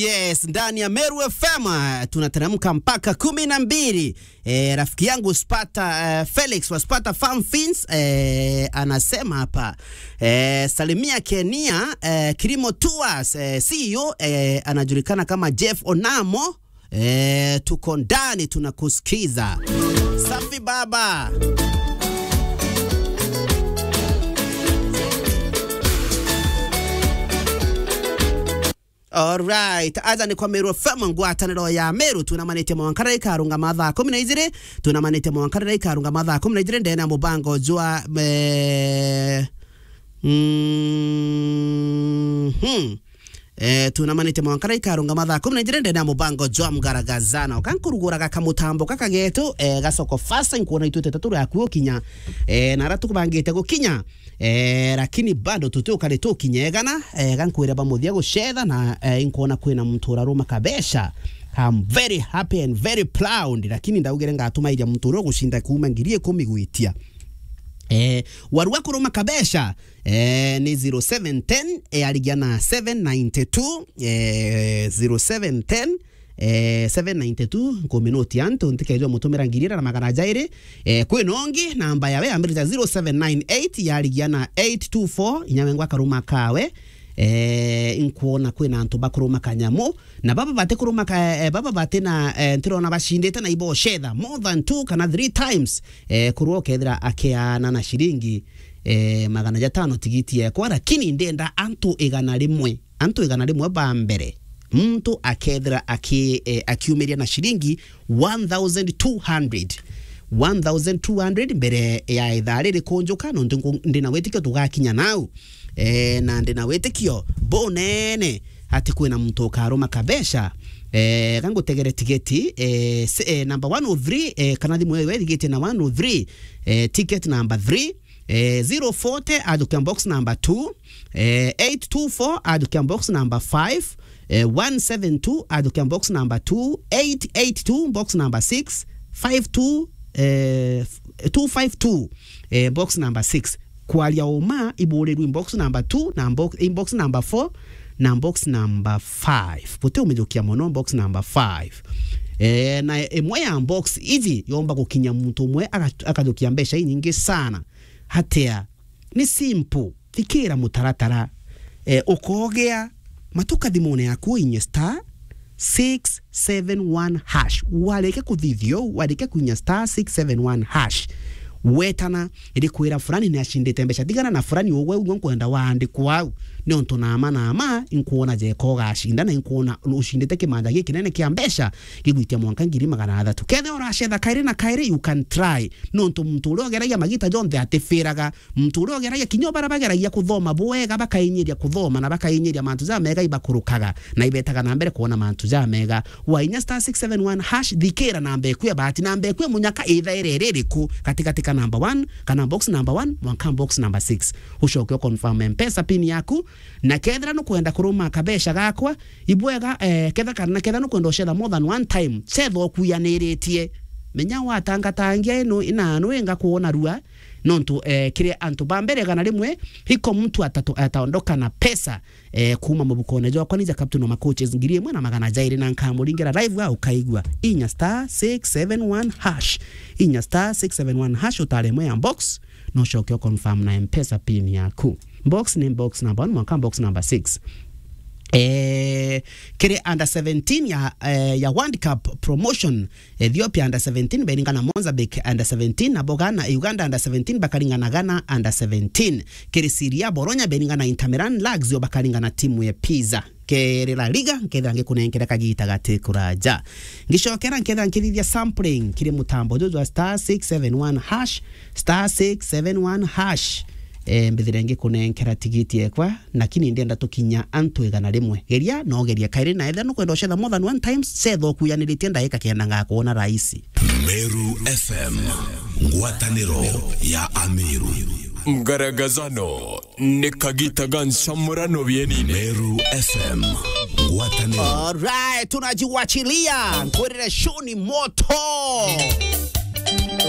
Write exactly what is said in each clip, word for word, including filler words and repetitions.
Yes, ndani ya Meru F M, eh, tunateremka mpaka kumi na mbili. Eh, rafiki yangu Sparta, eh, Felix wa Sparta Farm Fins, eh, anasema hapa, eh, salimia Kenia, eh, Kilimo Tours, eh, C E O, eh, anajulikana kama Jeff Onamo. Eh, tuko ndani, tunakusikiza. Safi baba. Alright, aja ni kwa Meru F M, ngwataniro ya Meru, tunamanitie mwanka riria ikarungama thaa kumi na ijiri, tunamanitie mwanka riria ikarungama thaa kumi na ijiri, ndene ya mubango jwa, eh, mhm. Eh, tunamanitie mwanka riria ikarungama thaa kumi na ijiri, ndene ya mubango jwa Mgaragazano. Kankuruguraga kamutambo gaka getu, eh, gacoko fast, nkuona itwite tatu ria kuo kinya, eh, na ara tukubangite gukinya. Eh, lakini bado tutiukari tukinya igana, eh, gankwira ba muthia gucetha na, eh, inkuona kwina muntu uraruma kabeca. I'm very happy and very proud, lakini ndaugire ngatumairia muntu uria ugucinda kuuma ngiri ikumi gwitia. Eh, warua kuruma kabeca, eh, ni zero seven ten, eh, arigia na seven ninety two, eh, zero seven ten, eh, seven ninety two, nkuminoti antu, ntikejwa mutumira ngiri ira na magana jairi, eh, kwina ungi, namba yawe yambirija zero seven nine eight, yarigia na eight two four, inya wengwa akaruma kawe, eh, inkuona kwina antu bakuruma kanyamu, na baba batikuruma ka, eh, baba batina, eh, ntirona bacindite na ibo cetha more than two kana three times, eh, kurwa ukethira akiana na ciringi, eh, magana jatano tigiti yekwa, lakini ndenda antu igana rimwe, antu igana rimwe ba mbere, muntu akethira aki-, eh, akiumiria na ciringi one thousand two hundred. One thousand two hundred mbere ya ithaa riri kunjuka, nontu nku-, ndina witikio tugakinya nau. Eh, na ndina witikio bunene ati kwina muntu ukaruma kabeca. Eh, gangutegere tigeti, eh, se-, eh, number one oh three, eh, kana thimu iyo ithigitie na one oh three, eh, ticket number three, eh, zero forty, ajukia box number two, eh, eight two four, ajukia box number five, eh, one seven two, ajukia box number two, eight eight two, box number six, five two, eh, two five two, eh, box number six. Kwaria uma, iburirwe inbox number two, na box, inbox number four, na box number five. Buti umijukia mono, box number five. Eh, na imwe ya box iji yomba gukinya muntu umwe aga-, akajukia mbeca inyingi sana. Atia? Ni simple. Thikira mutaratara. Eh, ukogea matuka thimune yaku uinye star six seven one hash. Warike kuthithia uu, warike kuinya star six seven one hash, wetana, irikwira fulani ni acindite mbeca. Tigana na fulani, ugwe ugwe nkwenda waandikwa au. Ni untu nama nama, inkuona jeka ugacinda, na inkuona ucindite kimanja gikinene kia mbeca, gigwitia mwanka ngiri magana athatu. Kethira uracetha kairi na kairi, you can try. Ni untu muntu uria ugeragia magita jonthe atifiraga. Muntu uria ugeragia, kinya bara bageragia kuthoma bwega, bakainyiria kuthoma na bakainyiria mantu jamega, ibakurukaga na ibetaga na mbere kuona mantu jamega. Wainya star six seven one hash, thikira namba eku ya bahati, namba eku ya munyaka ithaire iri iriku, gatigati ka number one, kana box number one, mwanka box number six. Ucoke u confirm M-Pesa pin yaku, na kethira nukwenda kuruma kabeca gakwa, ibwega, eh, ketha kana, ketha nukwenda ucetha more than one time, cetha ukuyaniritie. Menya watangatangia ino, ina anu inga kuona rua, nontu, eh, kiri antu ba mbere igana rimwe, iko mtu atatu-, ataondoka na pesa, eh, kuma mubukone jwakwa ni ja Captain wa Macoaches ngiri imwe na magana jairi, na nkamuringira live wa ukaigua. Inya star six seven one hash. Inya star six seven one hash, utare imwe ya box, no ucoke u confirm na M-Pesa pin yaku. Box ni box number one, mwanka box number six. Eh, kiri under seventeen ya, eh, ya World Cup promotion, Ethiopia under seventeen bairingana Mozambique under seventeen, nabo Ghana, Uganda under seventeen bakaringana Ghana under seventeen. Kiri Serie A, Bologna bairingana Inter Milan, Lazio bakaringana timu ya Pisa. Kiri La Liga, nkethira ngikunenkera kagita gati kuraja. Ngicokera nkethira nkithithia sampling kiri mutambo juju jwa star six seven one hash, star six seven one hash. Eh, mbithire ngikunenkera tigiti ekwa, lakini ndienda tukinya antu igana rimwe. Geria, no geria kairi, na ethira nukwenda ucetha more than one times, cetha ukuyaniritie ndaika kenda ngakuona rahisi. Meru F M, ngwataniro ya Ameru. Mgaragazano ni kagita ga ncamurano bienine. Meru F M, ngwataniro. Alright, tunajiwachilia. Nkwirire show ni moto.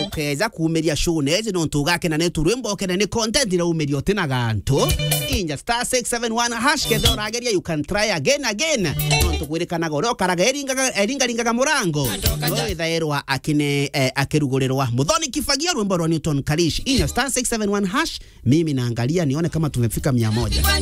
Ukeza kuumiria show neji nontu ugakena ni turwimbo ukene ni content iraumiria utina gantu. Inja star six seven one hash kethira urageria, you can try again, again. Nontu kwirikanaga uria ukaraga eringaga, eringaringaga murango. No ithairwa akine, eh, akirugurirwa. Muthoni Kifagia, rwimbo rwa Newton Karish. Inja star six seven one hash. Mimi naangalia nione kama tumefika mia moja.